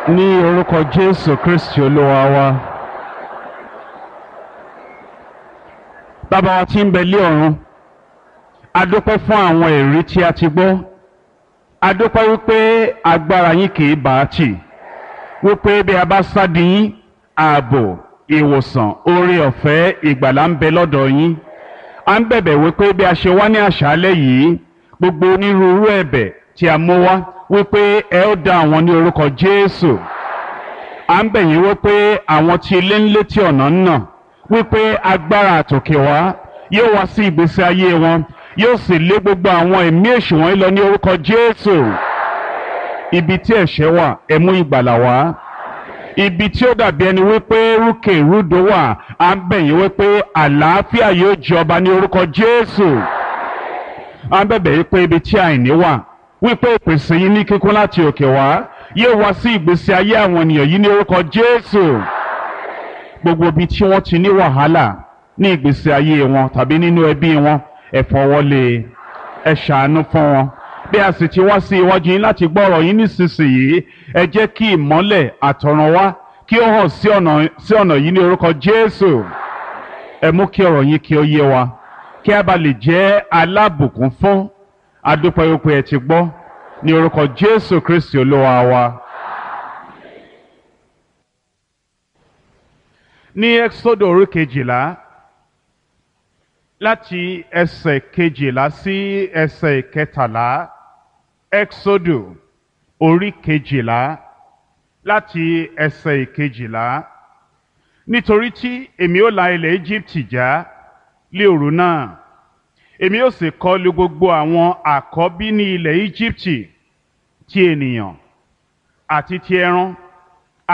Ní orúkọ Jésù Kristi Olúwa wa. Bàbá wa tí ń bẹ lé ọ̀run, a dúpẹ́ fún àwọn ẹ̀rí tí a ti gbọ́. A dúpẹ́ wípé agbára yín kì í bá a tì, wípé bí a bá sádi yín, ààbò, ìwòsàn, oore ọ̀fẹ́, ìgbàlà ń bẹ lọ́dọ̀ yín. A ń bẹ̀bẹ̀ wípé bí a ṣe wá ní àṣálẹ́ yìí, gbogbo onírúurú ẹ̀bẹ̀ tí a mú wá, wípé ẹ ó dá àwọn ní orúkọ Jésù. À ń bẹ̀ yín wípé àwọn tí ilé ń létí ọ̀nà ń nà, wípé agbára àtòkè wá yóò wá sí ìgbésí ayé wọn, yóò sì lé gbogbo àwọn ẹ̀mí èṣù wọ̀nyí lọ ní orúkọ Jésù. Ibi tí ẹ̀ṣẹ̀ wà, ẹ mú ìgbàlà wá. Ibi tí ó dàbí ẹni wípé rúkè rúdò wà, à ń bẹ̀ yín wípé àlàáfíà yóò jọba ní orúkọ Jésù. À ń bẹ̀bẹ̀ yín pé ibi tí àìní wà, wípé ìpèsè yín ní kíkún láti òkè wá yóò wá sí ìgbésí ayé àwọn ènìyàn yìí ní orúkọ Jésù. Gbogbo ibi tí wọ́n ti ní wàhálà ní ìgbésí ayé wọn tàbí nínú ẹbí wọn, ẹ fọwọ́lé, ẹ ṣàánú fún wọn. Bí a sì ti wá sí iwájú yín láti gbọ́ ọ̀rọ̀ yín nísinsìnyí, ẹ jẹ́ kí ìmọ́lẹ̀ àtọ̀run wá kí ó hàn sí ọ̀nà yìí ní orúkọ Jésù. Ẹ mú kí ọ̀rọ̀ yín kí ó yé wa, kí a bá lè jẹ́ alábùkún fún. Adúpẹ́ wípé ẹ ti gbọ́ ní orúkọ Jésù Kristi Olúwa wa. Ní Ẹ́kísódù orí 12, láti ẹsẹ̀ 12 sí ẹsẹ̀ 13. Ẹ́kísódù orí 12, láti ẹsẹ̀ 12. Nítorí tí èmi ó la ilẹ̀ Íjíbítì já lé òru náà, èmi ó sì kọlù gbogbo àwọn àkọ́bí ní ilẹ̀ Íjíbítì, ti ènìyàn àti ti ẹran.